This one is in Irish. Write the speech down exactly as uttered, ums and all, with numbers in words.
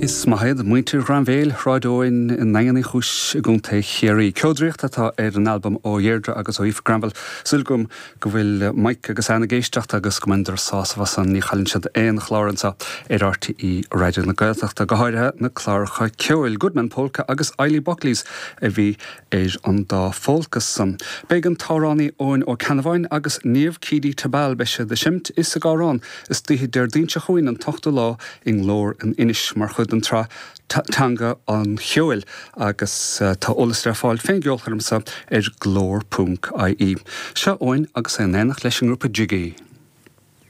Is maith iad muintir Ghrainbhéil, Shráid Eoin i nDaingean Uí Chúis i gContae Chiarraí. Ceodraíocht atá ar an albam ó Dheirdre agus ó Aoife Granville. Súil agam go bhfuil Mike agus Anne ag éisteacht agus go mbaineadar sásamh as an ní chailleann siad aon chlár anseo ar RTÉ Raidió na Gaeltachta, go háirithe na cláracha ceoil Goodman Polka agus Eilí Buckley's a bhí ar an dá phólca san. Beidh an t-amhránaí Eoin Ó Ceannabháin agus Niamh Keady Tabal beidh siad ag seinmt is ag amhrán istoíche Déardaoin seo chugainn an t-ochtú lá i nGlór in Inis mar chuid den tsraith Teanga an Cheoil agus uh, tá eolas le fáil fén gceolchoirm seo ar glór.ie. Seo Eoin agus é in éineacht leis an ngrúpa Jiggy.